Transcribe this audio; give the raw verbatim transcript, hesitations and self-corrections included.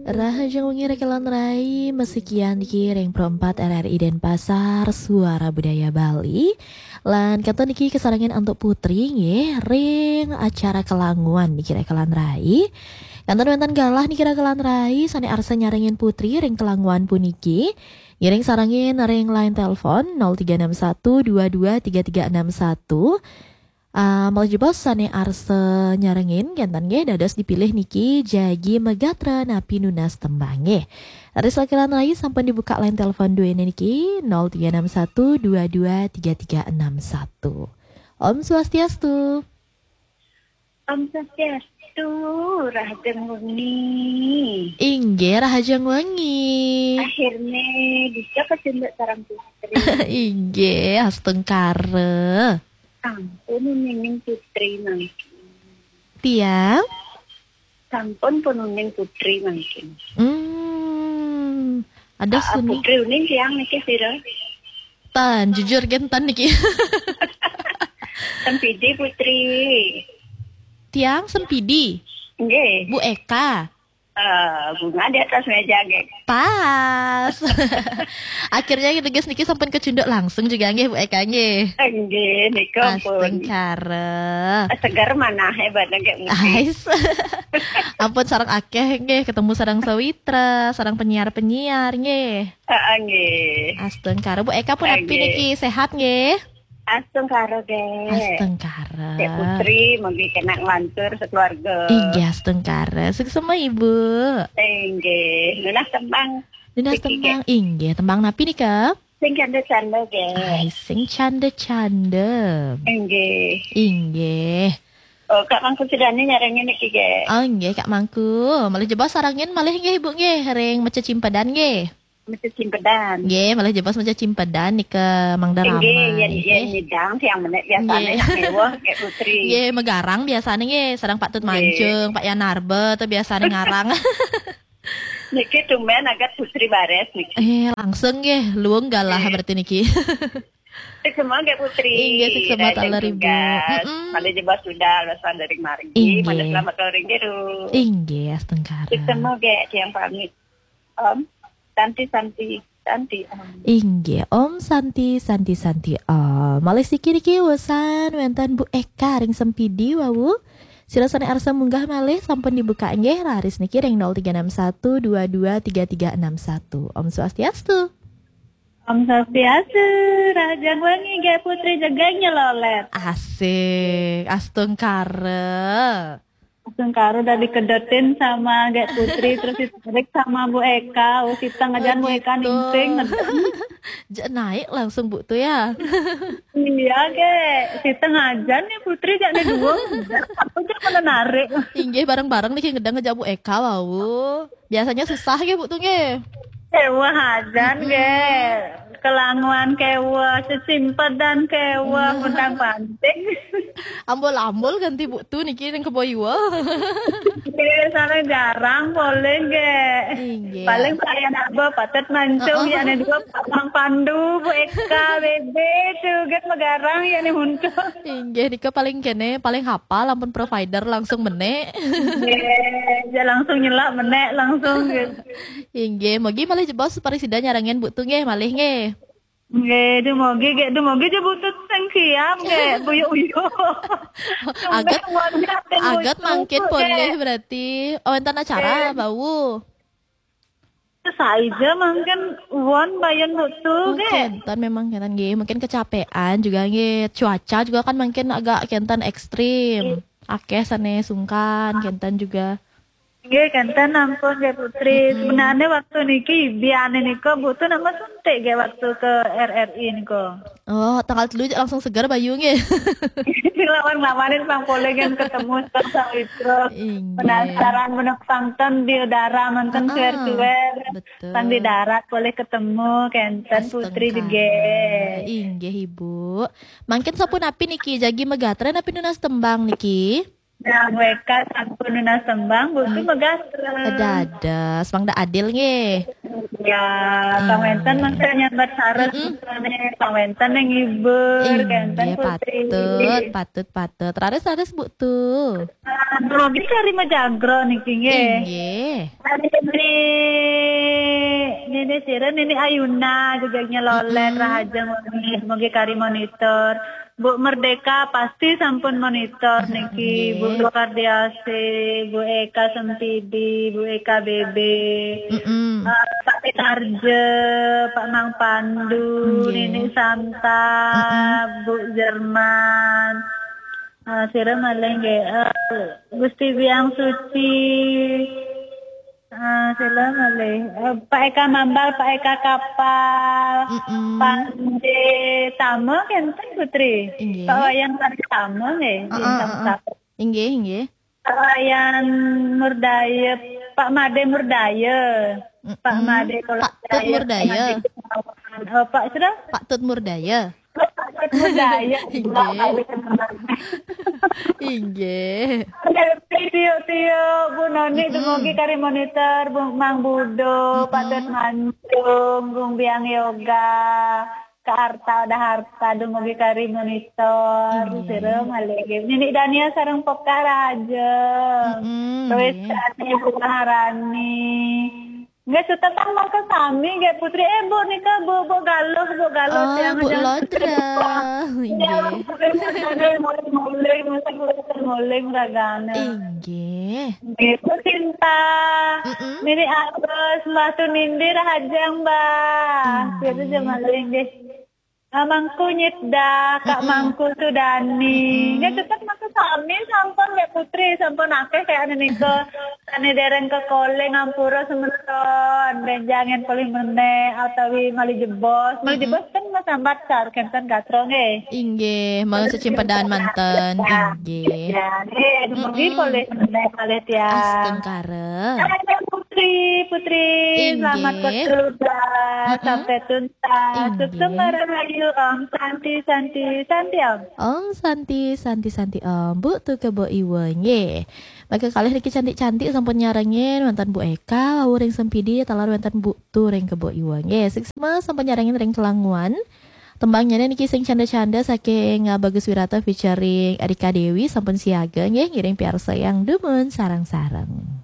Rahajeng wengi rekelan rai, masikian niki ring Pro empat R R I Denpasar, Suara Budaya Bali. Lan kantun niki kasarengin antuk Putri nggih ring acara kelanguan niki rekelan rai. Kantun wenten galah niki rekelan rai sane arsa nyarengin Putri ring kelanguan puniki. Ngiring sarengin ring line telepon nol tiga enam satu dua dua tiga tiga enam satu. Ah, malih jebos sane arsa nyarengin, kenten nggih, dados dipilih niki jagi magatra napi nunas tembang nggih. Raris rekelan rai sampun dibuka line telepon duene niki nol tiga enam satu dua dua tiga tiga enam satu. Om Swastiastu. Om Swastiastu, rahajeng wengi. Inggih, rahajeng wengi. Akhirnya bisa kecunduk sareng Putri. Inggih, astungkara. Sampun uning Putri mangkin. Tiang? Sampun pun uning Putri mangkin. Hmm, ada Ah, suni. Putri uning tiang niki sira? Tan, jujur kenten niki. Sempidi Putri. Tiang Sempidi. Nggih. Bu Eka. Eh, bunga di atas meja nggih. Pas. Akhirnya teges niki sampun kecunduk langsung juga nggih Bu Eka nggih. Nggih, nika pun. Astungkara. Segar manah hebat nggih mungkin. Ais. Ampun sareng akeh nggih ketemu sareng sawitra, sareng penyiar-penyiar nggih. Heeh nggih. Astungkara Bu Eka pun api Nggih. niki sehat nggih. Astungkara nggih. Astungkara. Cek Putri mungkin kena nglantur sekeluarga. Inggih astungkara. Suksma Ibu. Inggih. Nunas tembang. Nunas Niki, tembang. Inggih, tembang napi nika? Sing canda-canda nggih. Ai, sing canda-canda. Inggih. Inggih. Oh, Kak Mangku Sudani nyarengin niki nggih. Oh, inggih Kak Mangku. Malih jebos sarengin malih nggih Ibu nggih ring Meca Cimpedan nggih. Meca Cimpedan. Nggih, malih jebos Meca Cimpedan nika mangda Inggih, ramai. yen, yen Nggih. nyidang tiang menek biasane Nggih. nak mewah Kak Putri. Nggih, megarang biasane nggih, sareng Pak Tut Nggih. Mancung, Pak Yanarba tu biasane ngarang. Niki tumben agat Putri bares niki. Eh, langsung nggih, luung galah Nggih. berarti niki. Suksma nggih Putri. Inggih, suksma Rahajeng taler, Ibu. tugas. Mm-mm. Malih jebos sudah alasan dari margi. Inggih. Malih selamat sore nggih, Ru. Inggih, astungkara. Suksma nggih, tiang pamit. Om Santi Santi Santi Om. Inggih, Om Santi Santi Santi Om. Malih siki niki wusan wenten Bu Eka ring Sempidi wau. Sira sane arsa munggah malih sampun dibuka nggih raris niki ring nol tiga enam satu dua dua tiga tiga enam satu. Om Swastiastu. Om Swastiastu, rahajeng wengi nggih Putri jegeng nyelolet. Asik, astungkara. Astungkara udah dikedetin sama nggih Putri terus ditarik sama Bu Eka. Oh, kita ngajan Bu Eka Begitu. ningsing. Jeg naik langsung Bu tu ya. Iya nggih, kita ngajan nih Putri jak nih dua. Aku jak mana narik. Inggih bareng-bareng niki ngedang ngejak Bu Eka wau. Biasanya susah nggih Bu tu nggih. Kewah ajan Mm-mm. nggih. Kelanguan kewah, sesimpedan kewah, Nah. Mundang panting. Ambul-ambul ganti Bu tu niki ning kebo iwa. Nggih, sana jarang polih nggih. Inggih. Paling Pak Yanarba, Pak Tut Mancung, Heeh. ya ane dua Pak Mang Pandu, Bu Eka, Bebe, tu kan megarang ya nih untuk. Inggih, nika paling kene, paling hafal ampun provider langsung menek. Nggih, ya langsung nyelak menek langsung gitu. Inggih, mogi malih jebos parisida nyarengin Bu tu nggih, malih nggih. Nggih, dumogi nggih, dumogi je butut sing siap nggih, buyuk-uyuk. Agat, Sampai wajah sing agat buyuk mangkin nggih. polih berarti. Oh, enten acara Nggih. bau. Saija mangkin won bayan butu Oh, nggih. kenten memang kenten nggih. Mungkin kecapean juga nggih. Cuaca juga kan mangkin agak kenten ekstrim. Akeh sane sungkan, kenten juga. Nggih, kenten ampun nggih Putri. Mm-mm. Sebenarnya waktu niki biane nika butu nama suntik nggih waktu ke R R I nika. Oh, tanggal telu langsung seger bayu nggih. Lawan-lawanin pang polih kan ketemu Star Sawitra. Inggih. Penasaran bener pangten di udara manten Heeh, suwer-suwer. betul. Pang di darat polih ketemu kenten Putri Astungkara. juga. Inggih, Ibu. Mangkin sapunapi niki jagi megatra napi nunas tembang niki? Nah, mereka sampun nunas tembang, butuh Hmm. megatra. Dados, mangda adil nggih. Ya, pang wénten mangke nyambat sareng, pang wénten yang ngibur, kénten, Putri. Patut, patut, patut. Raris, raris, Bu, tu. Ah, dumugi kari majagro niki nggih. Inggih. Nini, Nini sira, Nini Ayuna, jegegna Lolet, rahaja wengi, dumugi kari monitor. Bu Merdeka pasti sampun monitor niki, Bu Kardiasih, Bu Eka Sempidi, Bu Eka B B, eh, Pak Pitarja, Pak Mang Pandu, Nini Santa, Bu Jerman, eh, sira malih nggih, eh, Gusti Biang Suci, eh, sira malih, eh, Pak Eka Mambal, Pak Eka Kapal, Panji Tama, kénten, Putri. Inggih. Pak Wayan Sari Tama nggih, Heeh, Bintang heeh. Satu. Inggih, inggih. Pak Wayan Murdaya, Pak Made Murdaya. Pak Made Pak Tut Murdaya. Made Gunawan. Oh, Pak sira? Pak Tut Murdaya. Pak Tut Murdaya. Inggih. Inggih. Tiuk-tiuk, Bu Noni, dumugi kari monitor, Bu Mang Budo, Pak Tut Manjung, Gung Biang Yoga, Kak Arta, Uda Harta, dumugi kari monitor, sira malih nggih. Nini Dania sareng Pokah rahaja. Terus inggih. Tani Bu Maharani. Nggih, sutetang mangke sami nggih, Putri. Eh, Bu nika, Bu, Bu Galuh, Bu Galuh. Oh, tiang Bu Lodra. Inggih. Muling-muling, muling-muling, ragane. Inggih. Nggih, Bu Sinta. Nini Agus, Mbah Tunindi, rahaja, Mbah. Inggih. Sira malih nggih. Ah, Mangku Nyitda, Kak Mangku Sudani. Nggih, tetep mangke sami sampun, Mbak Putri, sampun akeh kayakne nika. Sane dereng kekoling, ampura semeton. Benjangen polih meneh, atawi malih jebos. Malih jebos kan Mas Sambat sar, kenten gatra nggih. Inggih, mau secimpedan manten. Inggih. Ya, nggih, dumugi polih meneh kalih tiang. Astungkara. Hai, Putri, Putri, selamat berkeluarga. Sampai tuntas. Inggih. Sukses, Mbak Rahayu, Om Santi, Santi, Santi, Om. Om Santi, Santi, Santi, Om. Bu Tu ke Bu Iwa, nggih. Maka kalih niki cantik-cantik sampun nyarengin, wonten Bu Eka, wau ring Sempidi, taler wonten Bu Tu ring ke Bu Iwa, nggih. Suksma sampun nyarengin ring Kelanguan. Tembangnya niki sing canda-canda saking, uh, Bagus Wirata featuring Erika Dewi, sampun siaga, nggih, ngiring piarsa yang dumun sareng-sareng.